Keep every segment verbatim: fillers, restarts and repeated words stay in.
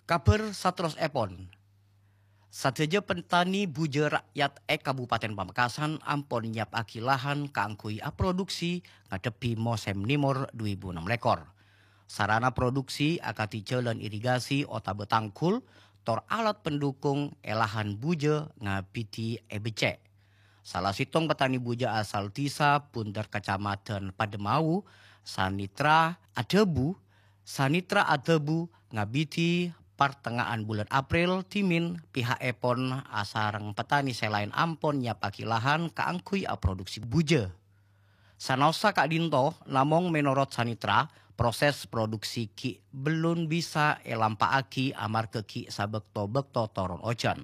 Kabhâr saterrossèpon. Sadhâjâ petani bujâ ra'yat è Kabupaten Pamekasan ampon nyèyapaghi lahan kaangghuy aproduksi ngaddhebbhi mosèm nèmor du èbu ennem lèkor. Sarana produksi akadhi jhâlân irigasi otabâ tanggul, tor alat pendukung è lahan bujâ ngabidhi è beccè'. Sala sèttong petani bujâ asal Dhisa Bundher, Kacamadhân Pademawu, Sanitra adhâbu, Sanitra adhâbu ngabidhi partenga'an bulân April dhimèn piha'èpon asareng petani sè laèn ampon nyèyapaghi lahan kaangghuy aproduksi bujâ. Sanaossa ka'dinto, namong mènorot Sanitra, proses produksi ghi' bellun bisa èlampa'aghi amarghâ ghi' sabâkto-bâkto toron ojhân.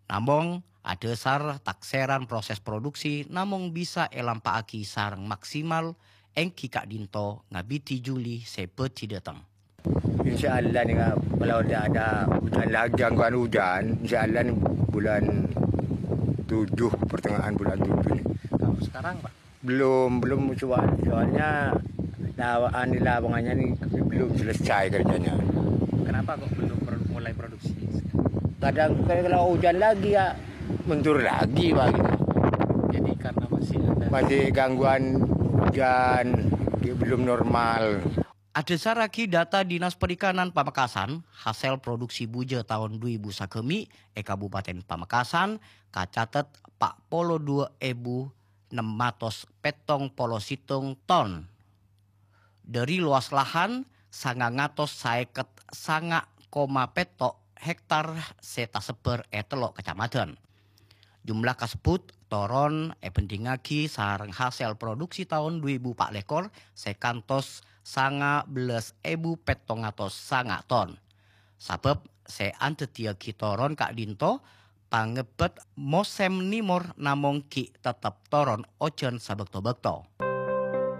Namong, adhâsar taksèran proses produksi namong bisa èlampa'aghi sareng maksimal èngghi ka'dinto ngabidhi Juli sè bhâdhi dhâteng. Insya Allah nih, Kak, kalau tidak ada hujan lagi, gangguan hujan, insya Allah nih bulan tujuh, pertengahan bulan tujuh nih. Kalau sekarang, Pak? Belum, belum, soal-, soalnya lawa-, anu, lapangannya nih belum selesai kerjanya. Kenapa kok belum pro-, mulai produksi? Kadang kalau hujan lagi ya mundur lagi, Pak, gitu. Jadi karena masih ada. Masih gangguan hujan, belum normal. Adhâsarraghi data Dinas Perikanan Pamekasan, hasèl produksi bujâ taon du èbu sagâmè' è Kabupaten Pamekasan kacatet pa' polo du èbu ennem atos pèttong polo sèttong ton. Dhâri lowas lahan sangang atos saèket sanga' koma pètto' hektar sè tasebbhâr è tello' kacamadhân. Jumlah kasebbhut toron èbhândhingngaghi sareng hasèl produksi taon du èbu pa' lèkor sè kantos sanga bellâs èbu pèttong atos sanga' ton. Sabâb sè andhâddhiyâghi toron ka'dinto pangebbhât mosèm nèmor namong ghi' tettep toron ojhân sabâkto-bâkto.